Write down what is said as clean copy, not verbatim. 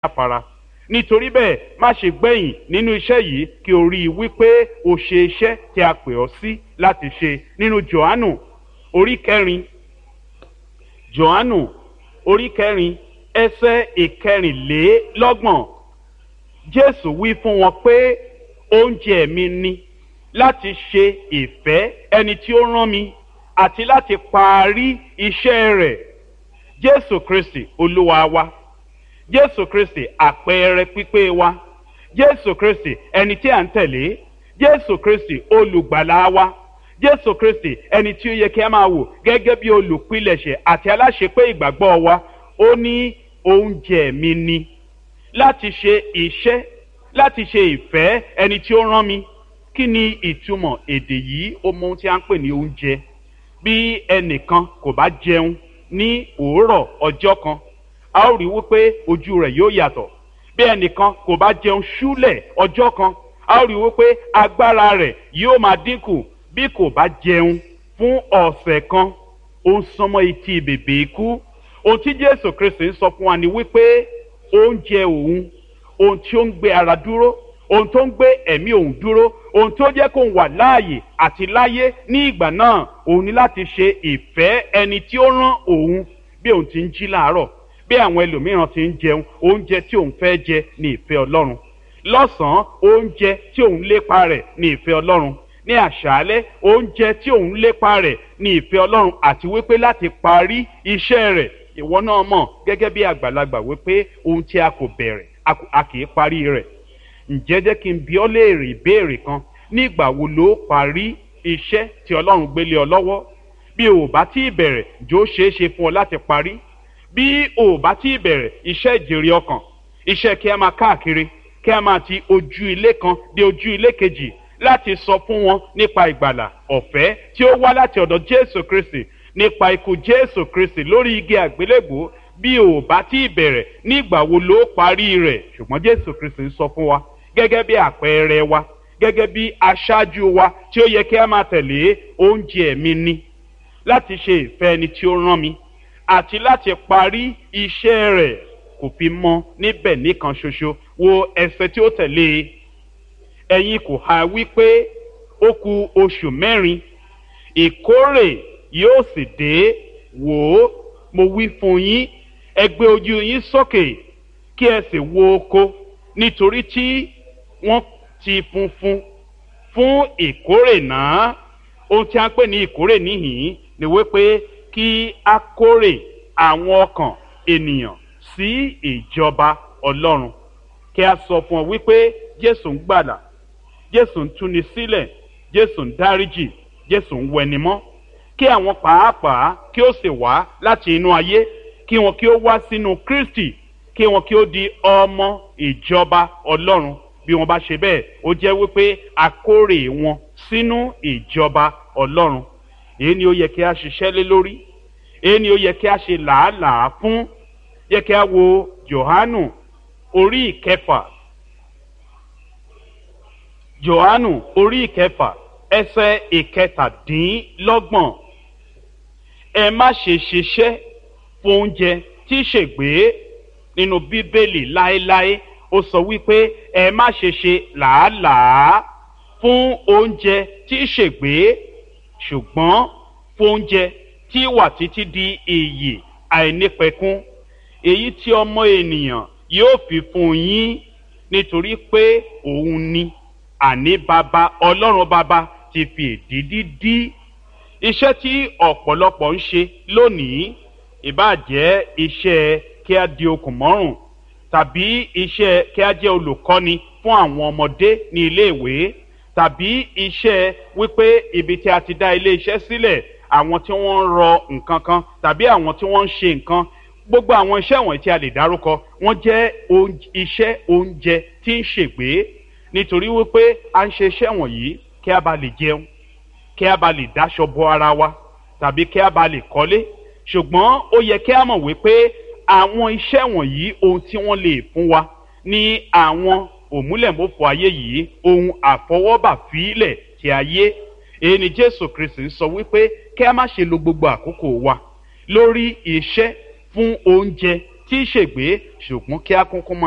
Jáfara. Nítorí bẹ́ẹ̀, má ṣe gbẹ̀yìn nínú iṣẹ́ yìí, kí o rí i wípé o ṣe iṣẹ́ tí a pè ọ́ sí láti ṣe. Nínú Jòhánù orí 4, Jòhánù orí 4, ẹsẹ̀ 24, Jésù wí fún wọn pé, "Oúnjẹ mi ni láti ṣe ìfẹ́ ẹni tí ó rán mi àti láti parí iṣẹ́ rẹ̀." Jésù Kristi Olúwa wa, Jésù Kristi àpẹẹrẹ pípé wa, Jésù Kristi ẹni tí à ń tẹ̀lé, Jésù Kristi olùgbàlà wa, Jésù Kristi ẹni tí ó yẹ kí a máa wò gẹ́gẹ́ bí olùpilẹ̀ṣẹ̀ àti aláṣepé ìgbàgbọ́ wa, ó ní, "Oúnjẹ mi ni láti ṣe iṣẹ́, láti ṣe ìfẹ́ ẹni tí ó rán mi." Kí ni ìtumọ̀ èdè yìí? Ó mọ ohun tí a ń pè ní oúnjẹ. Bí ẹnìkan kò bá jẹun ní òwúrọ̀ ọjọ́ kan, a ó rí wípé ojú rẹ̀ yóò yàtọ̀. Bí ẹnìkan kò bá jẹun ṣúlẹ̀ ọjọ́ kan, a ó rí wípé agbára rẹ̀ yóò máa dínkù. Bí kò bá jẹun fún ọ̀sẹ̀ kan, ó ń sánmọ́ etí bèbè ikú. Ohun tí Jésù Kristi ń sọ fún wa ni wípé oúnjẹ òun, ohun tí ó ń gbé ara dúró, ohun tó ń gbé ẹ̀mí òun dúró, ohun tó jẹ́ kó ń wà láàyè àti láyé ní ìgbà náà, òun ní láti ṣe ìfẹ́ ẹni tí ó rán òun. Bí òun ti ń jí láàárọ̀, bí àwọn ẹlòmíràn ti ń jẹun, oúnjẹ tí òun fẹ́ jẹ ní ìfẹ́ Ọlọ́run. Lọ́sàn-án, oúnjẹ tí òun lépa rẹ̀ ní ìfẹ́ Ọlọ́run. Ní àṣálẹ́, oúnjẹ tí òun lépa rẹ̀ ní ìfẹ́ Ọlọ́run, àti wípé láti parí iṣẹ́ rẹ̀. Ìwọ náà mọ̀ gẹ́gẹ́ bí àgbàlagbà wípé ohun tí a kò bẹ̀rẹ̀, a kì í parí rẹ̀. Ǹjẹ́ jẹ́ kí n bi ọ́ léèrè ìbéèrè kan: nígbà wo ló parí iṣẹ́ tí Ọlọ́run gbé lé ọ lọ́wọ́? Bí o ò bá tí ì bẹ̀rẹ̀, jọ̀ọ́ ṣeé ṣe fún ọ láti parí? Bí o ò bá tí ì bẹ̀rẹ̀ iṣẹ́ ìjèrè ọkàn, iṣẹ́ kí a máa káàkiri, kí a máa ti ojú ilé kan dé ojú ilé kejì láti sọ fún wọn nípa ìgbàlà ọ̀fẹ́ tí ó wá láti ọ̀dọ̀ Jésù Kristi, nípa ikú Jésù Kristi lórí igi àgbélébùú, bí o ò bá tí ì bẹ̀rẹ̀, nígbà wo ló parí rẹ̀? Ṣùgbọ́n Jésù Kristi ń sọ fún wa gẹ́gẹ́ bí àpẹẹrẹ wa, gẹ́gẹ́ bí aṣáájú wa tí ó yẹ kí a máa tẹ̀lé: "Oúnjẹ mi ni láti ṣe ìfẹ́ ẹni tí ó rán mi àti láti parí iṣẹ́ rẹ̀." Kò fi mọ́ níbẹ̀ nìkan ṣoṣo. Wo ẹsẹ̀ tí ó tẹ̀lé e: "Ẹ̀yin kò ha wí pé, 'Ó ku oṣù 4, ìkórè yóò sì dé'? Wò ó, mo wí fún yín, ẹ gbé ojú yín sókè kí ẹ sì wo oko, nítorí tí wọ́n ti funfun fún ìkórè náà." Ohun tí a ń pè ní ìkórè níhìn ni wípé kí a kórè àwọn ọkàn ènìyàn sí ìjọba Ọlọ́run, kí a sọ fún ọ wípé Jésù ń gbàlà, Jésù ń túni sílẹ̀, Jésù ń dáríjì, Jésù ń wẹnimọ́, kí àwọn pàápàá kí ó sì wá láti inú ayé, kí wọn kí ó wá sínú Kristi, kí wọn kí ó di ọmọ ìjọba Ọlọ́run. Bí wọn bá ṣe bẹ́ẹ̀, ó jẹ́ wípé a kórè wọn sínú ìjọba Ọlọ́run. Èyí ni ó yẹ kí a ṣiṣẹ́ lé lórí, èyí ni ó yẹ kí a ṣe làálàá fún. Yẹ kí a wo Jòhánù orí 6, Jòhánù orí 6, ẹsẹ̀ 27: "Ẹ má ṣe ṣiṣẹ́ fún oúnjẹ tí ṣègbé." Nínú Bíbélì láéláé, ó sọ wípé ẹ má ṣe ṣe làálàá fún oúnjẹ tí ṣègbé, ṣùgbọ́n fún oúnjẹ tí wà títí di ìyè àìnípẹ̀kun, èyí tí Ọmọ ènìyàn yóò fi fún yín, nítorí pé òun ni, àní Baba, Ọlọ́run Baba ti fi èdìdí dí. Iṣẹ́ tí ọ̀pọ̀lọpọ̀ ń ṣe lónìí, ìbáà jẹ́ iṣẹ́ kí a di okùn mọ́rùn, tàbí iṣẹ́ kí a jẹ́ olùkọ́ni fún àwọn ọmọdé ní iléèwé, tàbí iṣẹ́ wípé ibi tí a ti dá ilé iṣẹ́ sílẹ̀, àwọn tí wọ́n ń rọ nǹkan kan tàbí àwọn tí wọ́n ń ṣe nǹkan, gbogbo àwọn iṣẹ́ wọ̀nyí tí a lè dárúkọ, wọ́n jẹ́ iṣẹ́ oúnjẹ tí ń ṣègbé, nítorí wípé a ń ṣe iṣẹ́ wọ̀nyí kí a bá lè jẹun, kí a bá lè dáṣọ bo ara wa, tàbí kí a bá lè kọ́lé. Ṣùgbọ́n ó yẹ kí a mọ̀ wípé àwọn iṣẹ́ wọ̀nyí, ohun tí wọ́n lè fún wa ní àwọn òmúlẹ̀mófò ayé yìí, ohun àfọwọ́bà fílẹ̀ ti ayé. Èyí ni Jésù Kristi ń sọ wípé kí a má ṣe lo gbogbo àkókò wa lórí iṣẹ́ fún oúnjẹ tí í ṣègbé, ṣùgbọ́n kí a kúnkún máa